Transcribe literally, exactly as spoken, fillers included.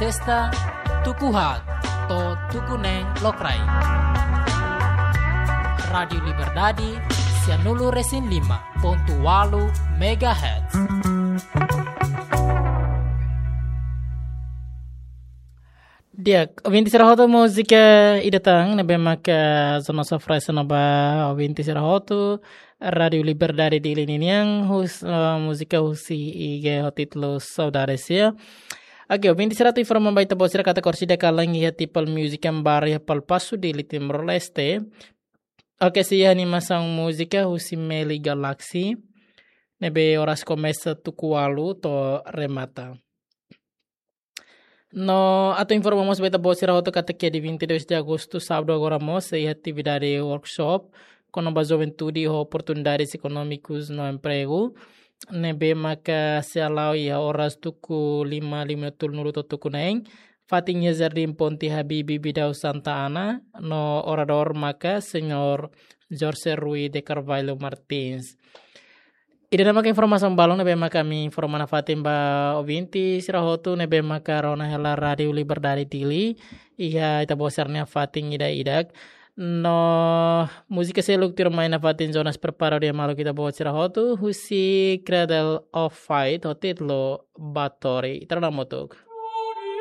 Esta tuku haat to'o tuku neen lokraik. Rádiu Liberdade, sianulu resin lima pontu walu megahertz. Di'ak, ouvinte sira hotu, múzika ida tan ne'ebé maka zona sofresa no ba ouvinte sira hotu Rádiu Liberdade Dili ninian, hus, eh, múzika husi I G ho títulu Saudades, ya. Oke, ouvinte sira, atu informa ba ita-boot sira katak orsida kalan iha Tipal Music and Bar iha Palpasu, Dili, Timor-Leste. Oke, sei iha animasaun múzika husi Meli Galaxy ne'ebé oras komesa tuku ualu to'o remata. No atu informa mós ba ita-boot sira hotu katak iha dia vinte e dois de agosto, sábadu agora mós, sei iha atividade workshop kona-ba juventude ho oportunidades ekonómikas no empregu, ne'ebé maka sei hala'o iha oras tuku lima, lima tolunulu to'o tuku neen, fatin iha Jardim Ponte Habibie Bidau Santa Ana, no oradór maka Señór Jorge Rui de Carvalho Martins. Ida-ne'e maka informasaun balun ne'ebé maka ami informa nafatin ba ouvinte sira hotu ne'ebé maka rona hela Rádiu Liberdade Dili iha ita-boot sira-nia fatin ida-idak. No múzika seluk tuirmai nafatin Jonas prepara di'ak maluk ita-boot sira hotu, husi Cradle of Fight ho títulu Batori. Ita rona hamutuk.